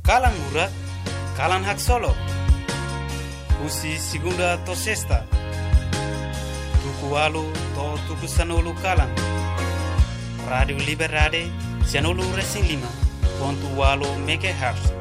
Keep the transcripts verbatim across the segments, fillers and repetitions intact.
Kalan Murak, kalan haksolok. Husi segunda to'o sesta, tuku ualu to'o tuku sanulu kalan. Rádiu Liberdade, sanulu resin lima pontu ualu megahertz.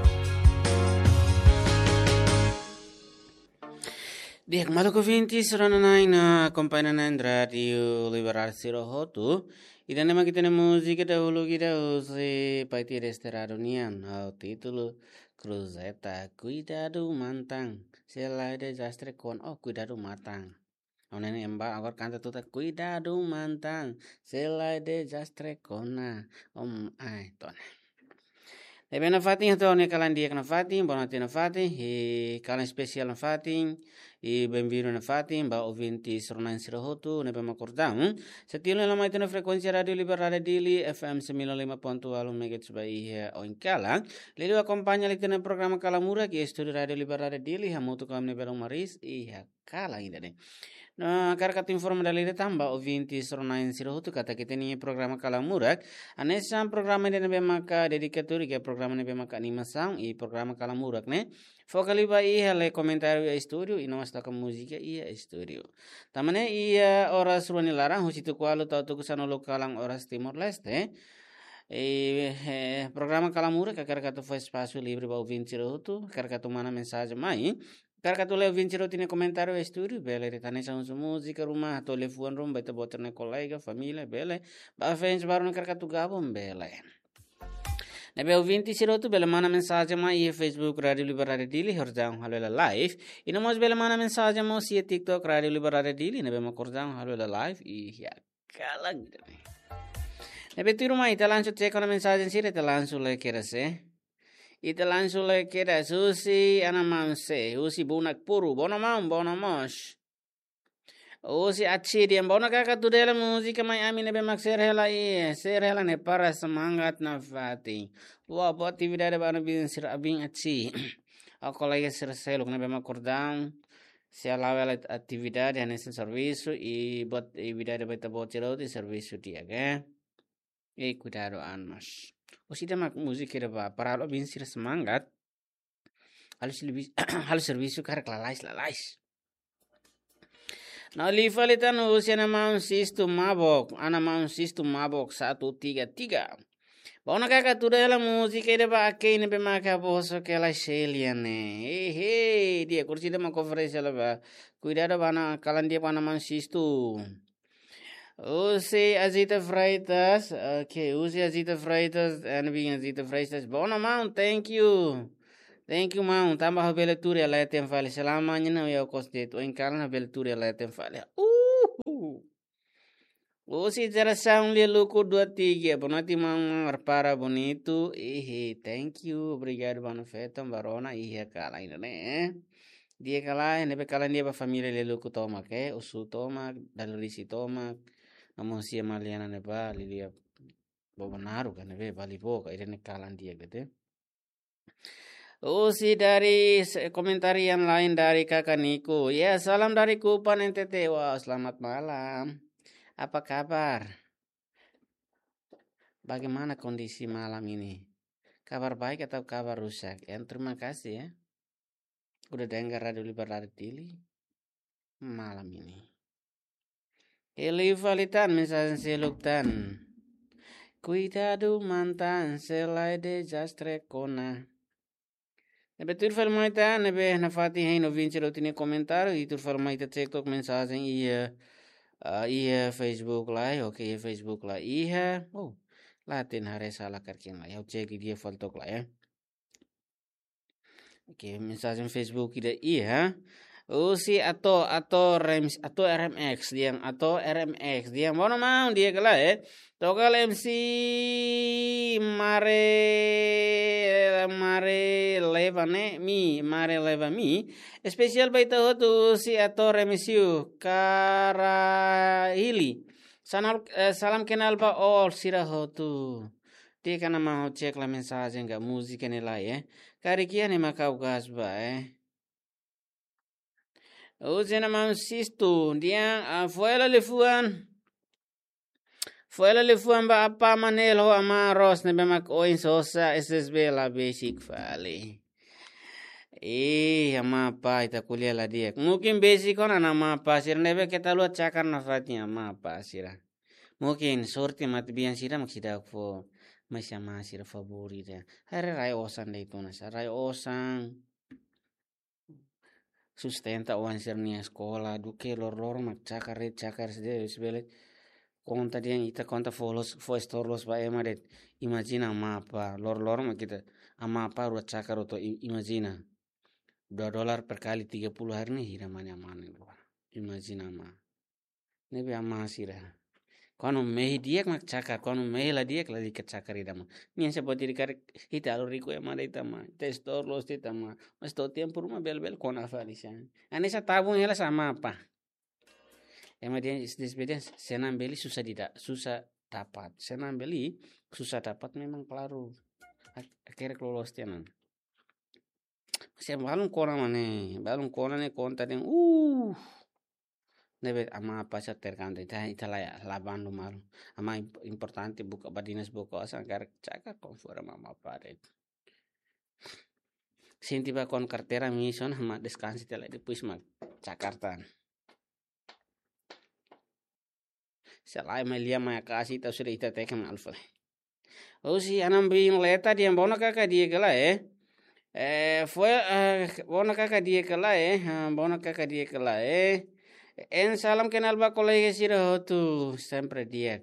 Di'ak maluk ouvintes, rona-na'in no akompaña-na'in Rádiu Liberdade sira hotu. Ida-ne'e mak ita-nia múzika dahuluk ida husi Paiti Desterrado nian, ho títulu Cruzeta, kuidadu mantan, se la'e dezastre kona, oh, kuidadu mantan. Ohin ne'e ema agora kanta tutan, kuidadu mantan, se la'e dezastre kona, om, ai, tona. Ne'ebé nafatin, hato'o ha'u-nia kalan di'ak nafatin, bonote nafatin, i kalan espesiál nafatin, i benvindu nafatin ba ouvintes rona-na'in sira hotu ne'ebé mak kordam. Setia ona mai iha frekuénsia Rádiu Liberdade Dili, F M sembilan lima pontu ualu megahertz ba iha oin kalan. Liuliu akompaña liután programa Kalan Murak iha estúdiu Rádiu Liberdade Dili, hamutuk ho ami-nia belun Maris, iha kalan ida-ne'e. No, hakarak atu informa dala ida tan ba ouvintes rona-na'in sira hotu katak ita-nia programa Kalan Murak hanesan programa ida ne'ebé maka dedikadu iha programa ne'ebé maka animasaun, i programa Kalan Murak ne'e foka liu ba iha lee komentáriu iha estúdiu, i no mós toka múzika iha estúdiu. Tanba ne'e iha oras rua nia laran, husi tuku ualu to'o tuku sanulu kalan oras Timor-Leste, i, eh, programa Kalan Murak hakarak atu fó espasu livre ba ouvinte sira hotu, hakarak atu manda mensajen mai, hakarak atu lee ouvinte sira hotu nia komentáriu iha estúdiu, bele, ita hanesan husu múzika ruma, atu lee fuan ruma ba ita-boot nia kolega, família, bele, ba fans baru ne'ebé hakarak atu gabung, bele. Ne'ebé ouvinte sira hotu bele manda mensajen mai iha Facebook Rádiu Liberdade Dili, hordaun halo hela live. I no mós bele manda mensajen mós iha TikTok Rádiu Liberdade Dili, ne'ebé mak hordaun halo hela live, iha kalan ida-ne'e. Ne'ebé tuirmai ita langsung cek ona mensajen sira, ita langsung lee kedas, eh. Ita langsung lee kedas, husi Ana Manse, husi Bunak Puru, bono maun, bono mós. Husi Aci dehan, bono kaka tuda hela múzika mai ami ne'ebé mak share hela i, share hela ne'e para semangat nafatin. Wah, boa atividade ba ana-bin sira, bin Aci. Ho kolega sira seluk ne'ebé mak kordam. Sei la'o hela atividade hanesan servisu i boa atividade ba ita-boot sira hotu, servisu di'ak, eh. I kuidadu an mós. Husi ida mak múzika ida ba, para halo bin sira semangat. Halo servi-, halo servisu karik lalais, lalais. No liu fali tan husi Ana Maun Sistu Mabok, Ana Maun Sistu Mabok satu tiga tiga. Bono kaka tuda hela múzika ida ba Akei ne'ebé maka boso kela Shelia ne'e. Hehe, di'ak, kursi ida mak oferese hela ba. Kuidadu ba ana, kalan di'ak ba Ana Maun Sistu. Husi Azita Freitas, oke, husi Azita Freitas, ana-bin Azita Freitas. Bono maun, thank you. Thank you maun, tanba ha'u bele tuur iha leten fali. Selama ne'e ha'u iha kos de'it, oin kalan ha'u bele tuur iha leten fali. Uhu. Husi Jerasaun Lialuku dua tiga, boa noite maun, prepara bonitu. Ihi, thank you, obrigadu ba anu feton ba rona iha kalan ida-ne'e. Di'ak ka lae, ne'ebé kalan di'ak ba família Lialuku tomak, eh, Usu tomak, Dali Risi tomak, no mós husi Maliana ne'ebá, Lilia Bobonaru ka ne'ebé, Bali Boka, ida-ne'e kalan di'ak de'it. Husi dari se-, komentar yang lain dari Kakak Niko. Ya, salam dari Kupang N T T. Wah, selamat malam. Apa kabar? Bagaimana kondisi malam ini? Kabar baik atau kabar rusak? Ya, terima kasih ya. Udah dengar Radio Libertari Dili malam ini. Eli fali tan, mensajen seluk tan. Kuidadu mantan, se lae dezastre kona. Ne'ebé tuir fali mai tan, ne'ebé nafatin hein ouvinte sira hotu nia komentar, i tuir fali mai ita cek tok mensajen iha, ah, iha Facebook Live, oke, iha Facebook Live, iha, oh, laten haree sala karkin la, ha'u cek di'ak fali tok la, ya. Oke, mensajen Facebook ida iha. Husi Ato, Ato Rems-, Ato R M X, dehan Ato R M X, dehan bono maun di'ak ka lae, eh. Toka hela M C Mare, Mare Leva ne'e, mi, Mare Leva mi. Espesiál ba ita hotu husi Ato Remisiu, Karahili. Sanal, eh, salam kenal ba all sira hotu. Di'ak, Ana Maun, ha'u cek la mensajen ka múzika ne'e lae, eh. Karik iha ne'e mak ha'u gas ba, eh. Husi Ana Maun Sistu, dehan, ah, fo'er hela liafuan. Fo'er la liafuan ba apá Manel ho amá Ros ne'ebé mak oin sosa S S B la besik fali. Ih, amá apá ita ko'alia la di'ak. Mungkin besik ona amá apá sira ne'ebé keta haluha cakar nafatin amá apá sira. Mungkin sorte matebian sira mak seidauk fó, mais amá sira favór ida. Haree rai osan de'it ona sa, rai osan. Sustenta oan sira-nia eskola, duké loroloron mak cakar de'it, cakar de'it, se bele konta dehan ita konta fó loos, fó estór loos ba ema de'it. Imajina amá apá, loroloron mak ita, amá apá rua cakar hotu, i-, imajina. Dua dolar per kali tiga puluh hari ne'e hira mane amá ne'e rua. Imajina amá. Ne'ebé amá sira. Kuandu mehi di'ak mak cakar, kuandu mehi la di'ak la di'ak cakar ida mós. Nia se boti di karik ita halo riku ema de'it amá. Ita estór loos de'it amá. Mais to'o tempu ruma bele-bele kona fali sa. Hanesan tabung hela sa amá apá. Ema dehan, es-, es-, dehan, senang beli susah dida-, susah dapat. Senang beli, susah dapat memang klaru. Ak-, akhirnya loloos tiha ona. Mas iha balun kona mane, balun kona ne'e konta dehan, uh. Ne'ebé amá apá sira terkanta, ita, ita la, la bandu malu. Amá imp-, importante buka badinas buka osan karik cakar konforme amá apá de'it. Sente ba kuandu karteira misu ona, amá deskansa tiha lai, depois mak cakar tan. Se lae mai lia mai akasi ita sudah ita teke malu fali. Husi Anam Bin Leta dehan, "Bona kaka di'ak ka lae, eh? Eh, fo'er, eh, bona kaka di'ak ka lae, eh? Ha, bona kaka di'ak ka lae, eh?" Hein salam kenal ba kolega sira hotu, sempre di'ak.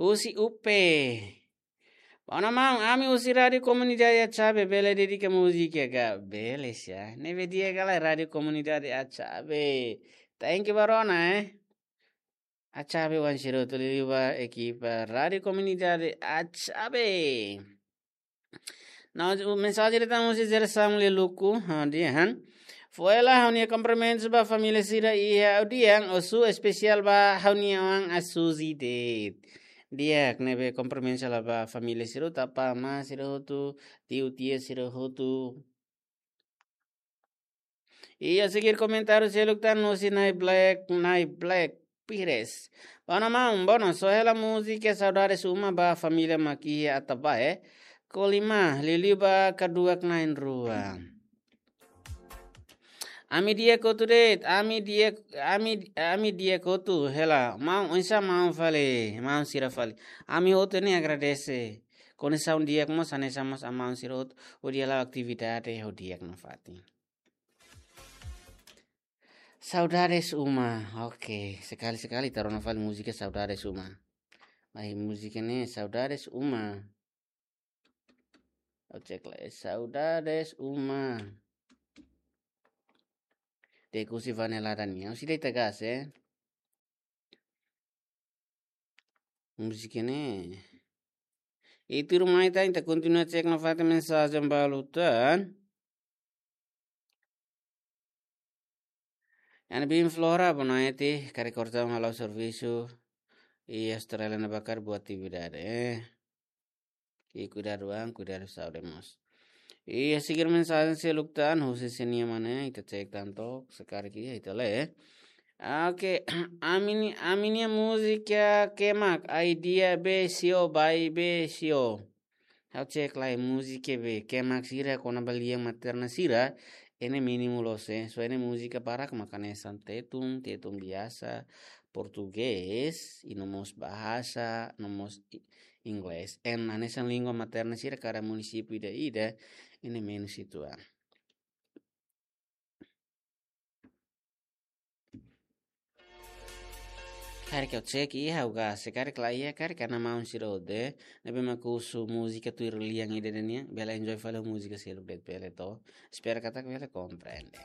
Husi Upe. Bona maun, ami husi Rádiu Komunidade Atxabe, bele dedika múzika ka? Bele sa. Ne'ebé di'ak ka lae Rádiu Komunidade Atxabe. Thank you ba rona, eh. Atxabe oan sira hotu liuliu ba ekipa Rádiu Komunidade Atxabe. Nah, mensajen datang husi Jere Samuel Luku, ha, dehan, "Fo'er la ha'u-nia kumprimentus ba família sira iha Udian, husu espesiál ba ha'u-nia oan Asuzi de'it." Di'ak, ne'ebé kumprimentus la ba família sira hotu, apá amá sira hotu, tiu tia sira hotu. Iha seguir komentáriu seluk tan husi Nai Black, Nai Black Pires. Bona maun, bona, só hela múzika Saudades Uma ba família mak iha Atabae, eh? Kolima, liuliu ba kaduak na'in-rua. Ami di'ak hotu de'it, ami di'ak, ami, ami di'ak hotu, hela, maun, oinsá maun fali, maun sira fali. Ami hotu ne'e agradese. Kondisaun di'ak mós, hanesan mós amaun sira hotu, hodi hala'o atividade ho di'ak nafatin. Saudades Uma. Oke, sekali-sekali ita rona fali múzika Saudades Uma. Ai, múzika ne'e Saudades Uma. Ha'u cek lai, Saudades Uma. Dehan husi Vanelada nian. Husi de'it ka lae, eh? Múzika ne'e. Ita ruma ita, ita kontinua cek nafatin mensajen balu tan. Iha ne'e Bin Flora, boa noite, karik kortaun hala'o servisu iha Austrália ne'ebá karik buat atividade, eh. I kuidadu an, kuidadu saúde mós. Iha seguir mensajen seluk tan, husi sé nian mane, ita cek tan to'ok, se karik iha ita lee. Oke, ami-nia, ami-nia múzika kemak, ai dia be sio, bai be sio. Ha'u cek lai múzika be, kemak sira kona-ba lian materna sira, ne'e mínimu loos, eh. Só ne'e múzika barak mak hanesan tetun, tetun biasa, portugés, i no mós bahasa, no mós i-, inglés. Hanesan língua materna sira kada munisípiu ida-ida, ne'e menus uitoan. Karik ha'u cek iha ha'u gas, se karik la iha, karik hanesan maun sira hotu ne'ebé mak husu múzika tuir lian ida-idak nian, bele enjoy fali múzika seluk de'it bele to. Espera katak bele komprende.